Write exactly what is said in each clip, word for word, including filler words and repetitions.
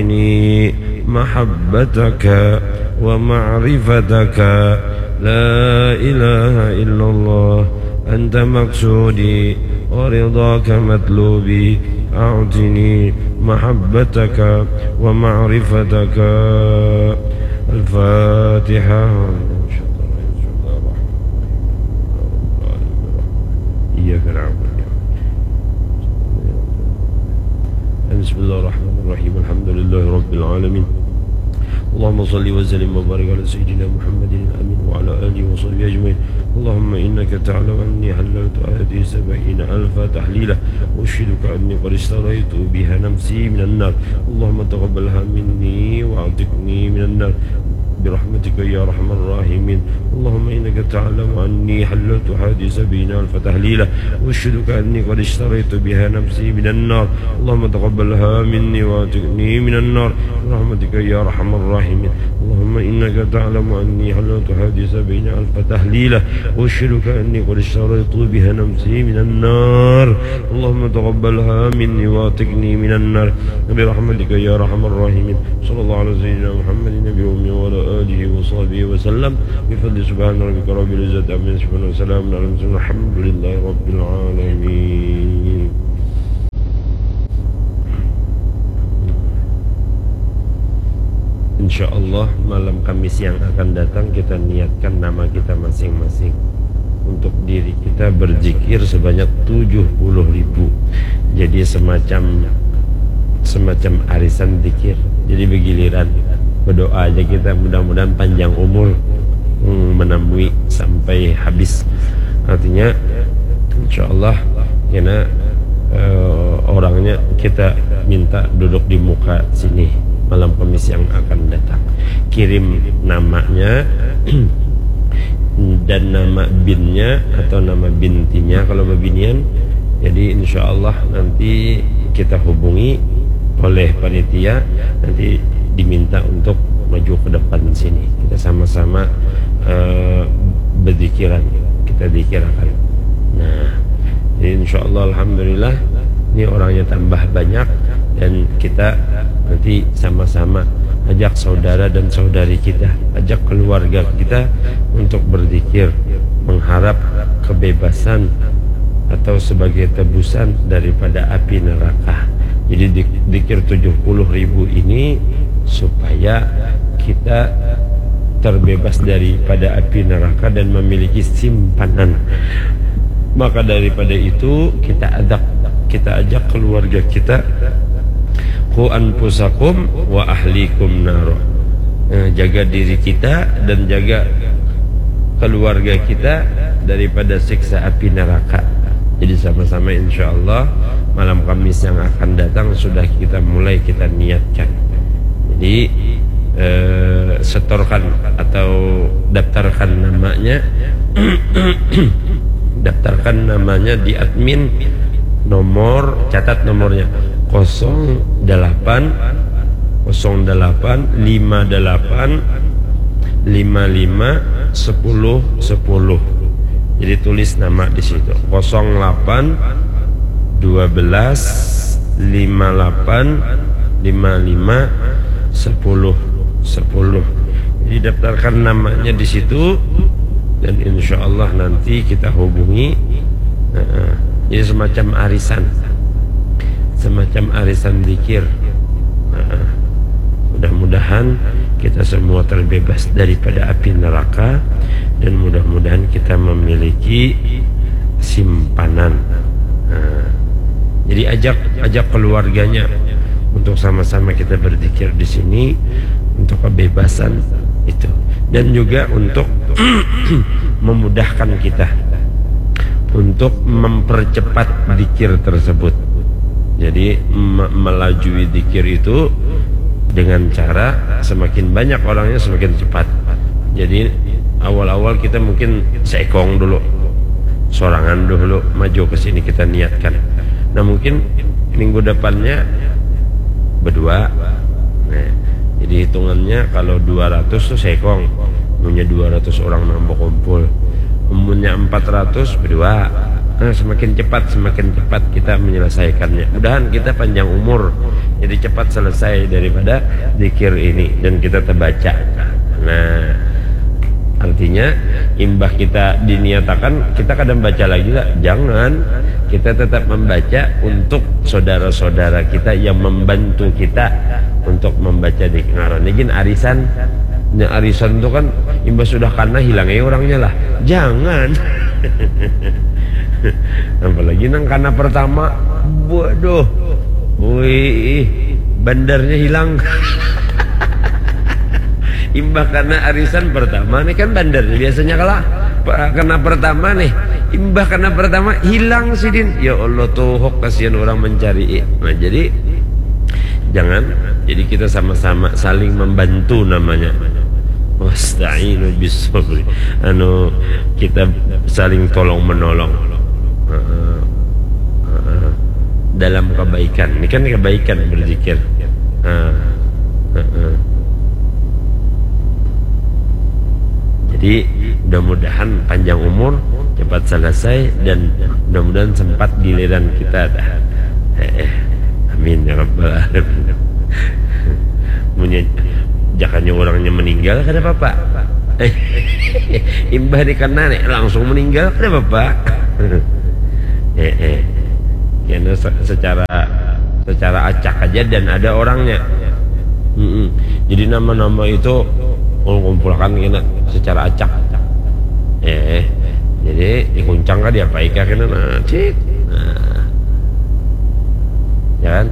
أعطني محبتك ومعرفتك. لا إله إلا الله، أنت مقصودي ورضاك مطلوبي، أعطني محبتك ومعرفتك. الفاتحة. إياك نعبد. بسم الله الرحمن الرحيم. الحمد لله رب العالمين. اللهم صل وسلم وبارك على سيدنا محمد الأمين وعلى آله وصحبه أجمعين. اللهم إنك تعلم أني حللت هذه سبعين ألف تحليلة، أشهدك أني قد اشتريت بها نفسي من النار. اللهم تقبلها مني وأعتقني من النار برحمتك يا أرحم الراحمين. اللهم إنك تعلم أني حللت هذه سبعين ألف تحليلة، أشهدك أني قد اشتريت بها نفسي من النار. اللهم تقبلها مني وأعتقني من النار برحمتك يا أرحم الراحمين. اللهم إنك تعلم أني حللت هذه سبعين ألف تحليلة، أشهدك أني قد اشتريت بها نفسي من النار. اللهم تقبلها مني وأعتقني من النار برحمتك يا أرحم الراحمين. صلى الله على سيدنا محمد النبي الأمي وعلى آله وصحبه وسلم بفضل سبحان ربك رب العزة عما يصفون وسلام على المرسلين والحمد لله رب العالمين. Insya Allah malam Kamis yang akan datang kita niatkan nama kita masing-masing. Untuk diri kita berzikir sebanyak tujuh puluh ribu. Jadi semacam semacam arisan zikir. Jadi bergiliran berdoa aja kita, mudah-mudahan panjang umur, hmm, menemui sampai habis. Artinya insya Allah kena, eh, orangnya kita minta duduk di muka sini malam Kamis yang akan datang. Kirim namanya dan nama binnya atau nama bintinya kalau bebinian. Jadi insya Allah nanti kita hubungi oleh panitia, nanti diminta untuk maju ke depan sini. Kita sama-sama, eh, berzikiran, kita zikirakan. Nah, jadi insya Allah alhamdulillah ini orangnya tambah banyak dan kita nanti sama-sama ajak saudara dan saudari kita, ajak keluarga kita untuk berzikir, mengharap kebebasan atau sebagai tebusan daripada api neraka. Jadi di-, zikir tujuh puluh ribu ini supaya kita terbebas daripada api neraka dan memiliki simpanan. Maka daripada itu kita ajak, kita ajak keluarga kita, "Qu anfusakum wa ahlikum naro." Eh, jaga diri kita dan jaga keluarga kita daripada siksa api neraka. Jadi sama-sama insya Allah malam Kamis yang akan datang sudah kita mulai, kita niatkan. Jadi, eh, setorkan atau daftarkan namanya, daftarkan namanya di admin, nomor, catat nomornya, kosong delapan, kosong delapan, lima delapan, lima lima, sepuluh, sepuluh. Jadi tulis nama di situ, kosong delapan, dua belas, lima delapan, lima lima, sepuluh, sepuluh. Jadi daftarkan namanya di situ dan insya Allah nanti kita hubungi. Heeh. Jadi semacam arisan, semacam arisan zikir. Heeh. Mudah-mudahan kita semua terbebas daripada api neraka dan mudah-mudahan kita memiliki simpanan. Nah, jadi ajak, ajak keluarganya untuk sama-sama kita berzikir di sini untuk kebebasan itu dan juga untuk memudahkan kita untuk mempercepat zikir tersebut. Jadi me-, melajui zikir itu dengan cara semakin banyak orangnya semakin cepat. Jadi awal-awal kita mungkin seekong dulu, sorangan dulu maju ke sini kita niatkan. Nah mungkin minggu depannya berdua. Nah, jadi hitungannya kalau dua ratus tuh seekong, punya dua ratus orang nang berkumpul. Umurnya empat ratus berdua. Nah, semakin cepat, semakin cepat kita menyelesaikannya. Mudahan kita panjang umur, jadi cepat selesai daripada zikir ini dan kita terbaca. Nah, artinya imbah kita diniatakan, kita kadang baca lagi lah. Jangan, kita tetap membaca untuk saudara-saudara kita yang membantu kita untuk membaca di ngarannya gin arisan. Nya arisan tuh kan imbah sudah kana hilang aja orangnya lah. Jangan. Apalagi nang kana pertama. Waduh. Wih, bandarnya hilang. Imbah kana arisan pertama nih kan bandarnya biasanya kalah. Pa- Kana pertama nih. Imbah kana pertama hilang sidin. Ya Allah, tuhuk, kasihan orang mencari. Nah, jadi jangan. Jadi kita sama-sama saling membantu namanya. Wasta'inu bis sabri. Anu, kita saling tolong menolong. Heeh. Heeh. Dalam kebaikan. Ini kan kebaikan berzikir. Heeh. Heeh. Jadi mudah-mudahan panjang umur, cepat selesai, dan mudah-mudahan sempat giliran kita dah. Heeh. Amin ya rabbal alamin. Munnya jakanya orangnya meninggal kada apa-apa. Imbah dikena nih langsung meninggal kada apa-apa. Heeh. Karena se- secara secara acak aja dan ada orangnya. Mm-mm. Jadi nama-nama itu ulun kumpulkan kena secara acak. Eh, jadi dikuncang kah diapai kah kena nah, cik. Nah. Ya kan?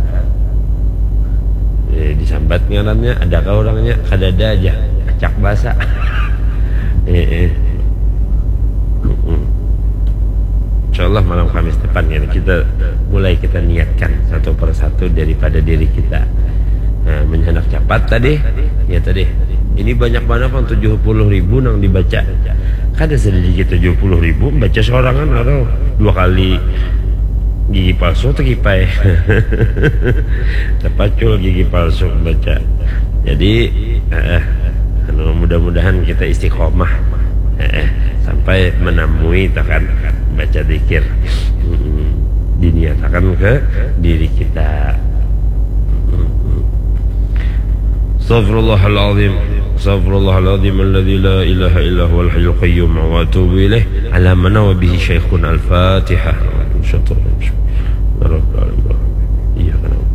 Eh, disambat ngarannya, adakah orangnya? Kadada aja. Acak basa. Eh, eh. Mm-mm. Insya Allah malam Kamis depan ya kita mulai kita niatkan satu persatu daripada diri kita. Nah, menyenak capat tadi, ya tadi. Ini banyak banget pang tujuh puluh ribu nang dibaca. Kada sedikit tujuh puluh ribu baca sorangan atau dua kali gigi palsu atau kipai. Terpacul gigi palsu baca. Jadi, eh, anu, mudah-mudahan kita istiqomah, eh, sampai menemui takan baca zikir. Mm-mm. Diniatakan ke diri kita. Mm-mm. Astaghfirullahaladzim. Astaghfirullahaladzim alladzi la ilaha illa huwal hayyul qayyum wa atubu ilaih. Ala mana wa bihi syaikhun al-Fatihah. Iya, kenapa?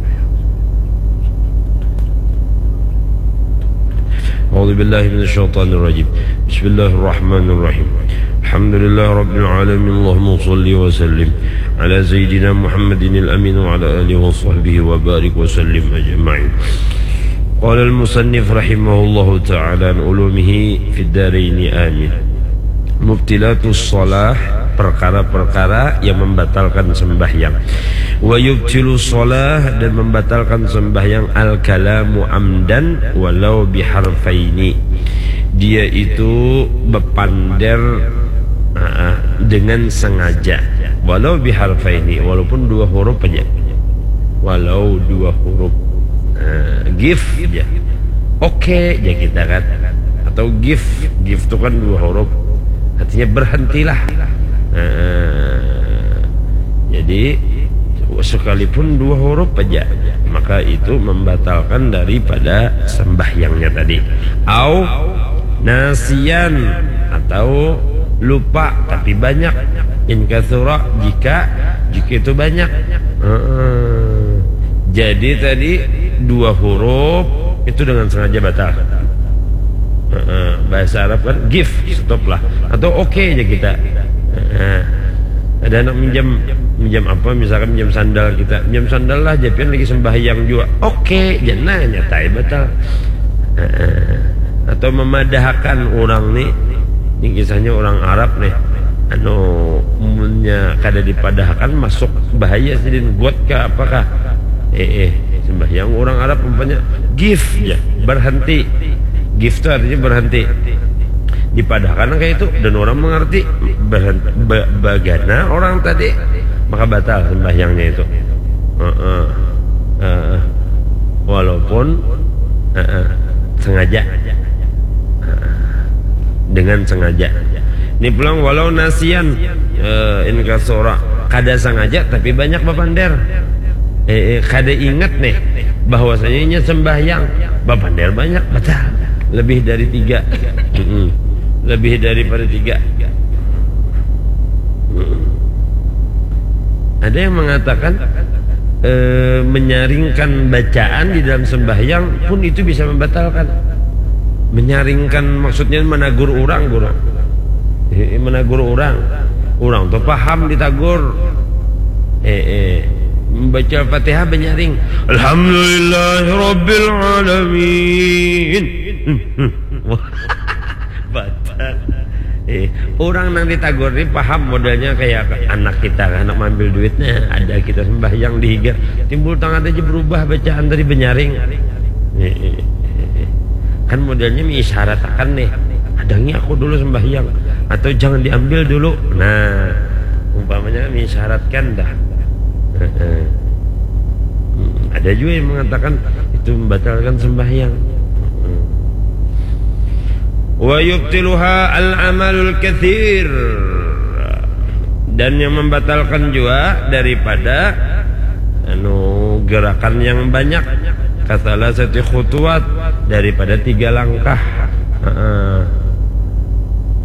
أعوذ بالله من الشيطان الرجيم. بسم الله الرحمن الرحيم. الحمد لله رب العالمين. اللهم صل وسلم على سيدنا محمد الأمين وعلى آله وصحبه وبارك وسلم أجمعين. قال المصنف رحمه الله تعالى عن علومه في الدارين آمين. Mubtilatus shalah, perkara-perkara yang membatalkan sembahyang. Wa yubtilu shalah, dan membatalkan sembahyang al-kalamu amdan walau biharfaini. Dia itu bepander, ah, dengan sengaja. Walau biharfaini, walaupun dua huruf aja. Walau dua huruf. Nah, gif aja. Oke aja kita kan. Atau gif. Gif itu kan dua huruf. Artinya berhentilah. Nah, jadi sekalipun dua huruf aja, maka itu membatalkan daripada sembahyangnya tadi. Au nasian, atau lupa tapi banyak. In katsura, jika, jika itu banyak. Heeh. Jadi tadi dua huruf itu dengan sengaja batal. Heeh. Bahasa Arab kan gif, stop lah. Atau oke aja kita. Heeh. Ada anak minjam, minjam apa, misalkan minjam sandal kita, minjam sandal lah, japian lagi sembahyang juga. Oke, jangan nyatai batal. Heeh. Atau memadahakan orang nih, ini kisahnya orang Arab nih, anu, munnya kada dipadahakan masuk bahaya sidin, got kah, apakah? Eh, eh, sembahyang orang Arab umpanya gif ya, berhenti. Gif itu artinya berhenti. Dipadahakan kayak itu dan orang mengerti, berhenti, ba- bagana orang tadi, maka batal sembahyangnya itu. Heeh. Heeh. Walaupun, heeh, sengaja. Heeh. Dengan sengaja. Ini pulang walau nasian, eh, in kasura, kada sangaja tapi banyak bapander. Eh, eh, kada ingat nih bahwasanya inya sembahyang, bapander banyak, batal. Lebih dari tiga. Mm-mm. Lebih daripada tiga. Mm-mm. Ada yang mengatakan, eh, menyaringkan bacaan di dalam sembahyang pun itu bisa membatalkan. Menyaringkan maksudnya menagur orang, guru. Eh, menagur orang. Orang tuh paham ditagur. Eh, eh. Membaca Fatihah menyaring. Alhamdulillahirabbil alamin. Wah, batal. Eh, orang nang ditagur ni paham modelnya kayak anak kita, anak mambil duitnya, ada kita sembahyang di higa, timbul tangan aja berubah bacaan tadi, benyaring. Eh, eh, eh, eh. Kan modelnya miisyarat akan nih, hadangi aku dulu sembahyang, atau jangan diambil dulu. Nah, umpamanya miisyaratkan dah. Eh, eh. Hmm, ada juga yang mengatakan itu membatalkan sembahyang. Hmm. Wa yubtiluha al-amalul katsir. Dan yang membatalkan juga daripada, anu, gerakan yang banyak, kasalasati khutuwat, daripada tiga langkah. Heeh.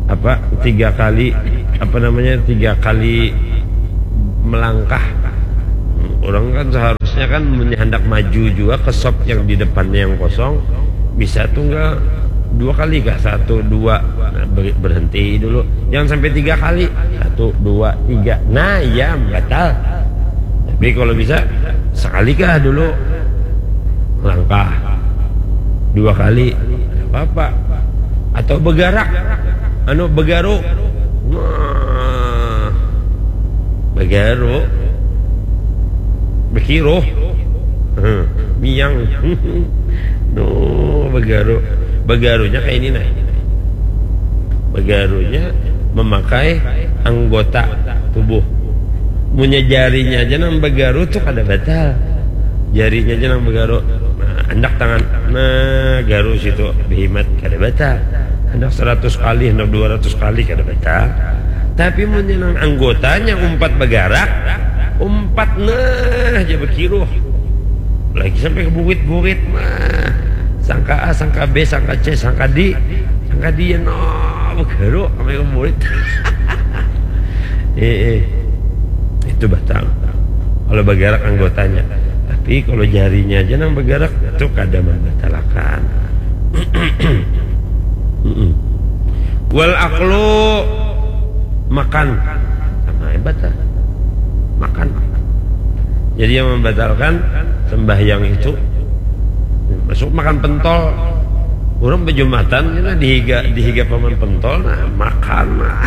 Apa, tiga kali, apa namanya, tiga kali melangkah. Orang kan seharusnya kan mun handak maju juga ke sop yang di depannya yang kosong, bisa tunggal dua kali kah, satu, dua. Nah, ber-, berhenti dulu, jangan sampai tiga kali, satu, dua, tiga, nah, ya, batal. Tapi kalau bisa, sekali kah dulu langkah, dua kali, tidak apa-apa. Atau begarak, anu, begaru. Nah, begaru, bekiruh. Hmm, miang. No, begaru. Begarunya kayak ini, nah. Begarunya memakai anggota tubuh. Munnya jarinya aja nang begaru tuh kada batal. Jarinya aja nang begaru. Nah, handak tangan, nah, garu situ, behimat, kada batal. Handak seratus kali, handak dua ratus kali, kada batal. Tapi munnya nang anggotanya umpat begarak, umpat, nah, aja bekiruh. Lagi sampai ke burit-burit, nah. Sangka A, sangka B, sangka C, sangka D, sangka D, ya, no, begaru sampai ke burit. Eh, eh. Itu batal. Kalau begarak anggotanya. Tapi kalau jarinya aja nang begarak, itu kada membatalakan. Mm-mm. Wal aklu, makan. Sama hebat lah. Makan. Jadi yang membatalkan sembahyang itu, masuk makan pentol. Orang bejumatan, kena dihiga, dihiga paman pentol, nah, makan, nah.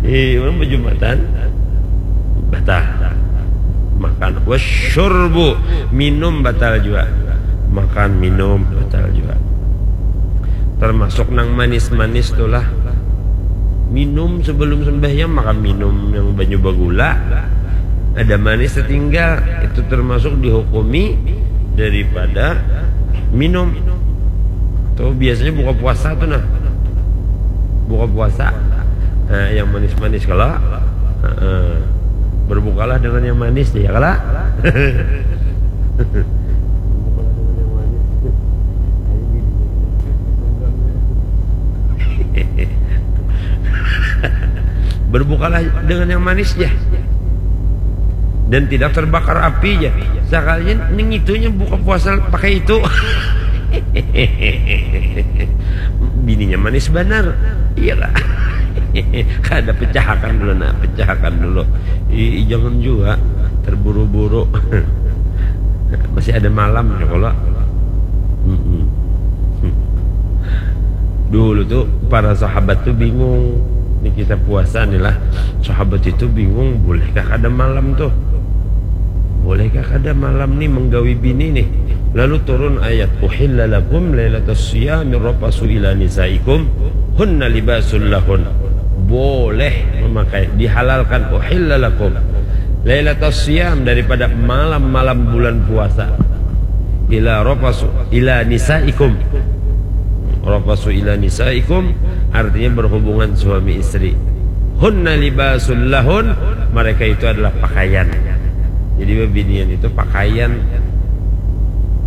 Ih, orang bejumatan, batal. Makan. Wasyurbu, minum batal juga. Makan, minum batal juga. Termasuk nang manis-manis tuh lah. Minum sebelum sembahyang, makan minum yang banyu bagula. Ada manis tertinggal, itu termasuk dihukumi daripada minum. Tuh biasanya buka puasa tuh, nah. Buka puasa. Nah, yang manis-manis kalau, heeh. Berbukalah dengan yang manis, ya kalau. Berbukalah dengan yang manis. Berbukalah dengan yang manis, ya. Dan tidak terbakar api, ya. Sekalinya ning itunya buka puasa pakai itu. Bininya manis banar. Iya lah. Kada, pecahakan dulu, nah, pecahakan dulu. I, i, jangan juga terburu-buru. Masih ada malam ya kalau. Mm-mm. Dulu tuh para sahabat tuh bingung. Ini kisah puasa nih lah. Sahabat itu bingung, bolehkah kada malam tuh? Bolehkah kada malam nih menggawi bini nih? Lalu turun ayat, "Uhilla lakum lailatas siyami rafasu ila nisaikum hunna libasul lahun." Boleh memakai, dihalalkan, "Uhilla lakum lailatas siyam," daripada malam-malam bulan puasa. Ila rafasu ila nisaikum. Rafasu ila nisaikum, Artinya berhubungan suami istri. Hunna libasul lahun, mereka itu adalah pakaian. Jadi bebinian itu pakaian.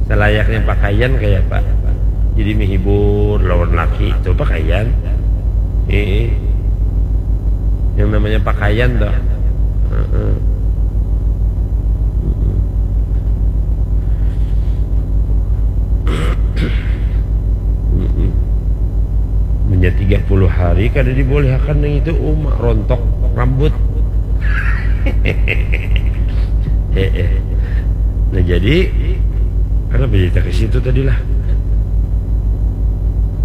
Selayaknya pakaian kayak apa? Jadi menghibur lawan laki itu pakaian. Eh, yang namanya pakaian toh. Heeh. Mm-mm. Menjadi tiga puluh hari kada dibolehakan yang itu umak rontok rambut. Eh, eh. Nah jadi kenapa jadi ke situ tadi lah?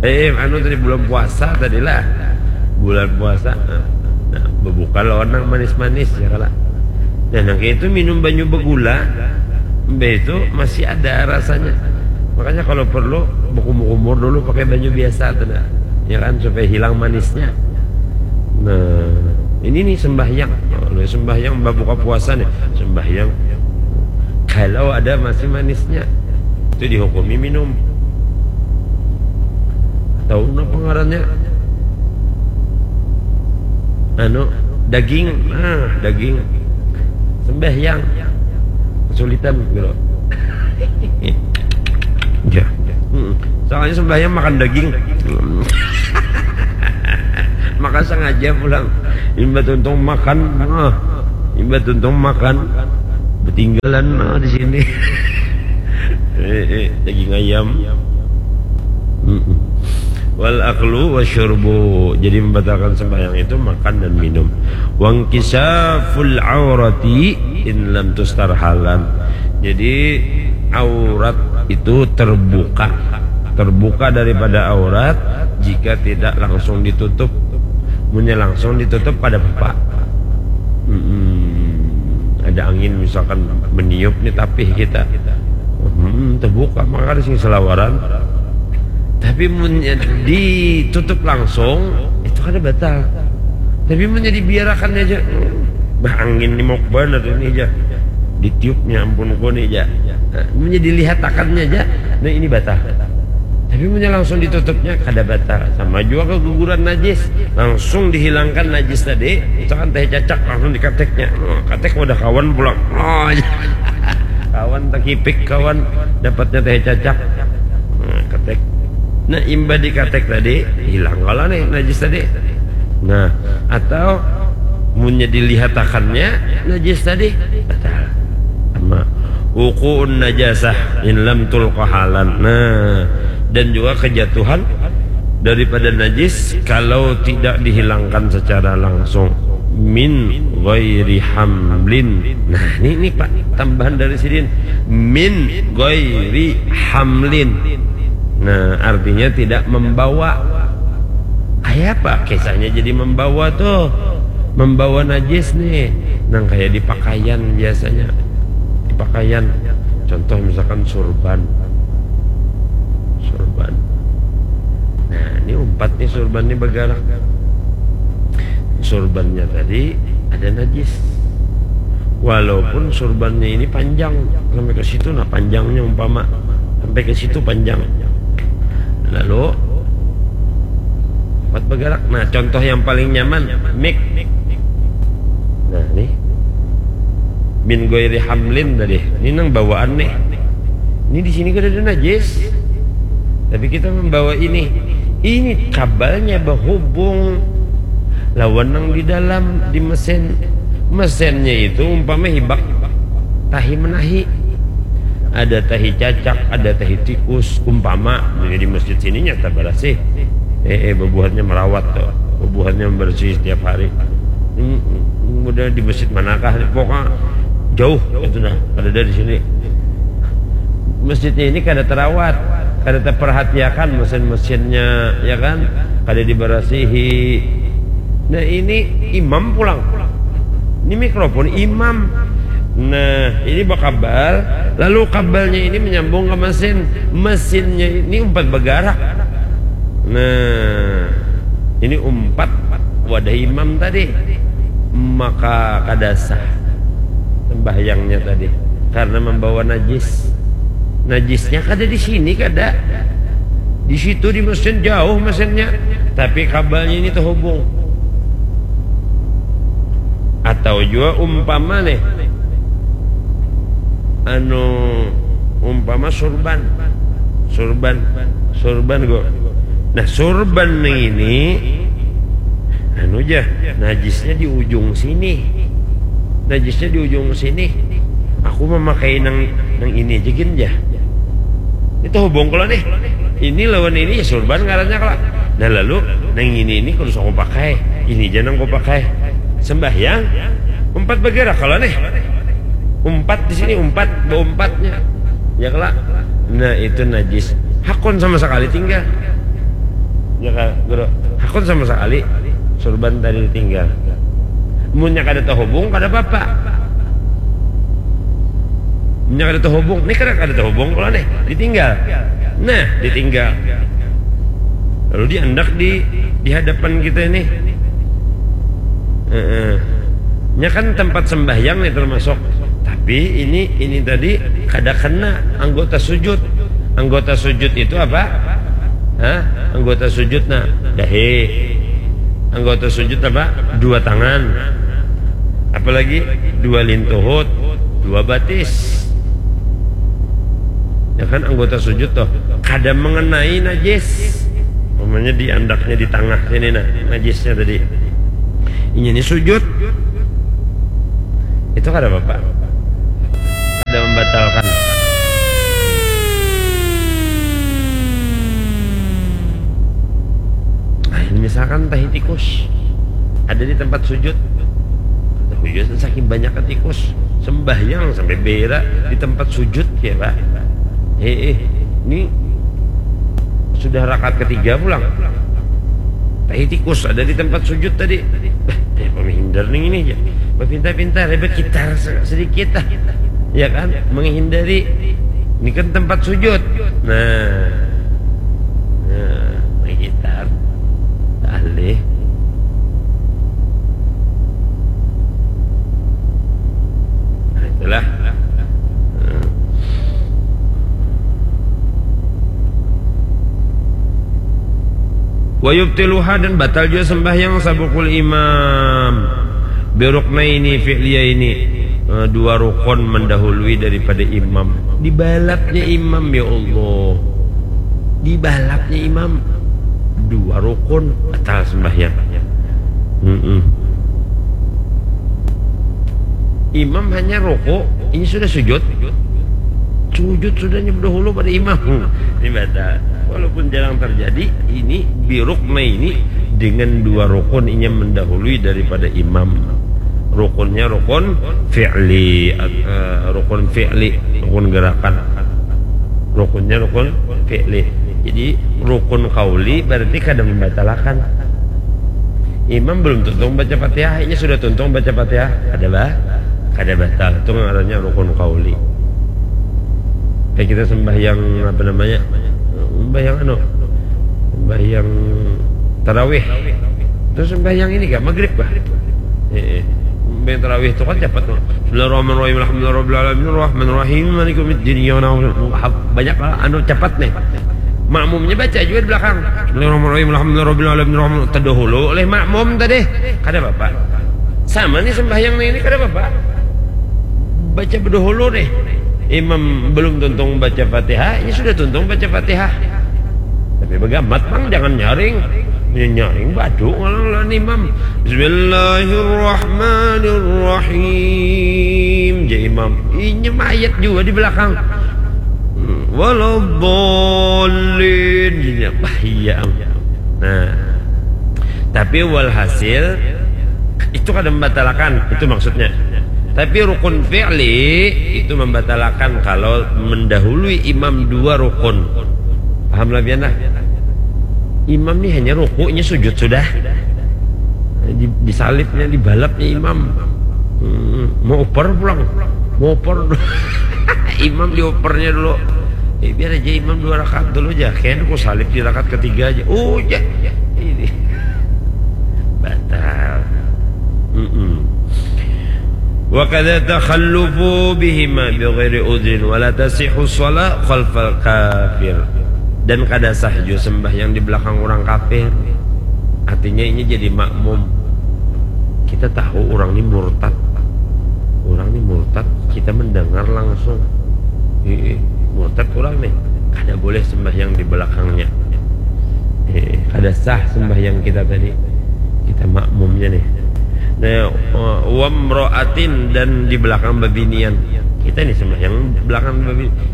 Eh, eh, anu tadi bulan puasa tadi lah. Bulan puasa. Nah, berbuka lawan nang manis-manis ya kala. Nah, nang kayak itu minum banyu begula, mbah itu masih ada rasanya. Makanya kalau perlu berkumur-kumur dulu pakai banyu biasa tuh dah. Ya kan, supaya hilang manisnya. Nah, ini nih sembahyang. Nah, sembahyang mbah buka puasa nih. Sembahyang kalau ada masih manisnya itu dihukumi minum. Tahu napa ngarannya? Anu, daging. Nah, daging. Sembahyang. Kesulitan gitu. Ya. Mm-mm. Soalnya sembahyang makan daging. Maka sengaja pulang. Imba tuntung makan. Ah, imba tuntung makan. Betinggalan, ah, di sini. Eh, eh, daging ayam. Mm-mm. Wal aklu wasyurbu. Jadi membatalkan sembahyang itu makan dan minum. Wangkisaful aurati in lam tustar halan. Jadi aurat itu terbuka. Terbuka daripada aurat jika tidak langsung ditutup. Munnya langsung ditutup pada apa? Mm-mm. Ada angin misalkan meniup nih tapih kita. Hmm, terbuka maka ada sing selawaran. Tapi munnya ditutup langsung itu kada batal. Tapi munnya dibiarakan aja, bah angin ni mok banar ini aja. Ditiupnya ampun ko ni aja. Nah, munnya dilihatakannya aja, nah ini batal. Tapi munnya langsung ditutupnya kada batal. Sama juga keguguran najis, langsung dihilangkan najis tadi, misalkan teh cacak langsung dikateknya. Oh, katek wadah kawan pulang. Oh, kawan takipik kawan dapatnya teh cacak. Nah, ketek. Nah, imba dikatek tadi hilang kalau nih najis tadi. Nah, atau munnya dilihatakannya najis tadi batal. Sama wukuun najasah in lam tulqa halan. Nah, dan juga kejatuhan daripada najis kalau tidak dihilangkan secara langsung. Min ghairi hamlin. Nah, ini, ini Pak, tambahan dari sidin. Min ghairi hamlin. Nah, artinya tidak membawa. Kayak apa kisahnya jadi membawa tuh? Membawa najis nih. Nang kayak di pakaian biasanya. Di pakaian. Contoh misalkan surban. Surban. Nah, ini umpat nih surban nih bergerak. Surbannya tadi ada najis. Walaupun surbannya ini panjang sampai ke situ, nah panjangnya umpama sampai ke situ panjang. Lalu empat bergerak. Nah, contoh yang paling nyaman mik. Nah, nih min goiri hamlin tadi. Ini nang bawaan nih. Ini di sini kada ada najis. Tapi kita membawa ini. Ini kabalnya berhubung lawan nang di dalam di mesin. Mesinnya itu umpama hibak tahi menahi. Ada tahi cacak, ada tahi tikus, umpama. Jadi masjid sini nyata barasih. Eh, eh, bebuhatnya merawat tuh. Bebuhatnya membersih setiap hari. Hmm, udah di masjid manakah nih? Pokoknya jauh itu nah, ada dari sini. Masjidnya ini kada terawat, kada terperhatiakan mesin-mesinnya, ya kan? Kada diberasihi. Nah, ini imam pulang. Ini mikrofon imam. Nah, ini bakabal, lalu kabalnya ini menyambung ke mesin. Mesinnya ini umpat bergerak. Nah, ini umpat wadah imam tadi. Maka kada sah sembahyangnya tadi karena membawa najis. Najisnya kada di sini, kada. Di situ di mesin jauh mesinnya, tapi kabalnya ini terhubung. Atau jua umpama nih, anu, umpama surban, surban, surban go. Nah, surban nih ini, anu jah, najisnya di ujung sini, najisnya di ujung sini. Aku memakai nang nang ini aja gin jah. Itu hubung kalau nih. Ini lawan ini ya surban ngarannya kalau. Nah, lalu nang ini ini kalau aku pakai, ini aja nang aku pakai. Sembahyang, umpat bergerak kalau nih. Umpat di sini, umpat, beumpatnya. Ya kalau. Nah, itu najis. Hakun sama sekali tinggal. Ya kalau, guru. Hakun sama sekali surban tadi tinggal. Munnya kada terhubung, kada apa-apa. Munnya kada terhubung, nih kada, kada terhubung kalau nih, ditinggal. Nah, ditinggal. Lalu diandak di, di hadapan kita ini. Heeh. Nya kan tempat sembahyang nih termasuk. Tapi ini, ini tadi kada kena anggota sujud. Anggota sujud itu apa? Hah? Anggota sujud, nah, dahi. Anggota sujud apa? Dua tangan. Apalagi dua lintuhut, dua batis. Ya kan, anggota sujud tuh kada mengenai najis. Umpamanya di andaknya di tengah sini, nah, najisnya tadi. Inya ini sujud. Itu kada apa-apa. Kada membatalkan. Nah, ini misalkan tahi tikus ada di tempat sujud. Tahu ya, saking banyaknya tikus, sembahyang sampai berak di tempat sujud ya, Pak. Eh, eh, ini sudah rakaat ketiga pulang. Tahi tikus ada di tempat sujud tadi. Bah, ya, pemihindar nih ini ya. Berpinta-pinta, rebet kitar se-, sedikit lah. Ya kan? Menghindari. Ini kan tempat sujud. Nah. Nah, mengkitar. Alih. Nah, itulah. Nah. Wa yubtiluha, dan batal jua sembahyang sabukul imam. Biruknaini fi'liya ini, eh, dua rukun mendahului daripada imam. Dibalapnya imam, ya Allah. Dibalapnya imam. Dua rukun batal sembahyang. Mm-mm. Imam hanya rukuk, ini sudah sujud. Sujud sudahnya berdahulu pada imam. Ini batal. Walaupun jarang terjadi, ini birukna ini dengan dua rukun inya mendahului daripada imam. Rukunnya rukun fi'li, eh, rukun fi'li, rukun gerakan. Rukunnya rukun fi'li. Jadi rukun qauli berarti kada membatalakan. Imam belum tuntung baca Fatihah, inya sudah tuntung baca Fatihah, kada bah, kada batal. Itu ngarannya rukun qauli. Kayak kita sembahyang apa namanya? Sembahyang anu? Sembahyang tarawih. Terus sembahyang ini kah? Maghrib kah? Eh, eh. Sembahyang tarawih itu kan cepat, no. Bismillahirrahmanirrahim. Alhamdulillahirabbil alamin. Arrahmanirrahim. Maliki yaumiddin. Iyyaka na'budu. Banyak lah anu cepat nih. Makmumnya baca juga di belakang. Bismillahirrahmanirrahim. Alhamdulillahirabbil alamin. Arrahman. Terdahulu oleh makmum tadi. Kada apa-apa. Sama nih sembahyang nih, ini kada apa-apa. Baca berdahulu nih. Imam belum tuntung baca Fatihah, ini sudah tuntung baca Fatihah. Tapi bagamat, Bang, jangan nyaring. Ini nyaring badu ngalang lawan imam. Bismillahirrahmanirrahim. Ja imam. Inya mayat juga di belakang. Hmm, waladdallin. Inya, bah, iya. Nah, tapi walhasil itu kada membatalakan, itu maksudnya. Tapi rukun fi'li itu membatalakan kalau mendahului imam dua rukun. Paham lah pian lah? Imam ni hanya rukunya, sujud sudah. Di, disalibnya, dibalapnya imam. Hmm, mau oper pulang. Mau oper. Imam diopernya dulu. Eh, biar aja imam dua rakaat dulu aja. Kayaknya aku salib di rakaat ketiga aja. Oh, ya. Ini. Batal. Mm-mm. Wa kadza takhallufu bihima bi ghairi udhrin wa la tasihhu shalah khalfal kafir. Dan kada sah jua sembahyang di belakang urang kafir. Artinya ini jadi makmum. Kita tahu urang ni murtad. Urang ni murtad, kita mendengar langsung. Ih, murtad urang ni. Kada boleh sembahyang di belakangnya. Ih, kada sah sembahyang kita tadi. Kita makmumnya nih. Nah, wamroatin dan di belakang babinian. Kita nih sembahyang belakang babinian.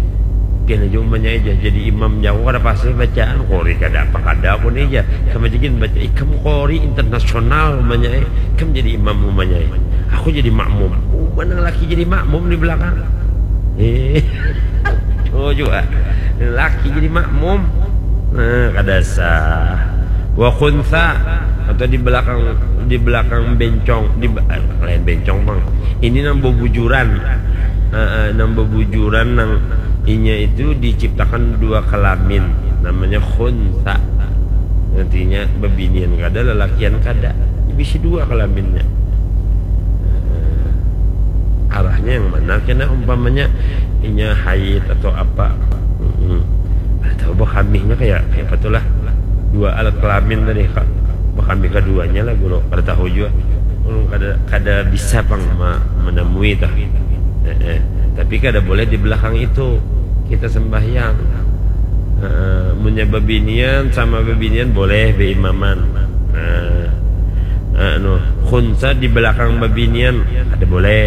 Pian aja umanya aja jadi imam jago kada pasti bacaan kori kada apa kada aku nih aja sama jikin baca ikam kori internasional umanya eh ikam jadi imam umanya eh aku jadi makmum umanya laki jadi makmum di belakang eh oh juga laki jadi makmum nah kada sah wa khunsa atau di belakang di belakang bencong di eh, lain bencong bang ini nang bebujuran eh, eh, nang bebujuran nang inya itu diciptakan dua kelamin namanya khunsa artinya bebinian kada lelakian kada bisi dua kelaminnya eh, arahnya yang mana kena umpamanya inya haid atau apa mm -mm. Ada tahu bah hamihnya kayak kayak apa tuh lah dua alat kelamin tadi kak bah hamih keduanya lah guru kada tahu juga hmm, kada kada bisa pang menemui tah eh, eh. Tapi kada boleh di belakang itu kita sembahyang eh, munya babinian sama babinian boleh beimaman eh, anu khunsa di belakang babinian kada boleh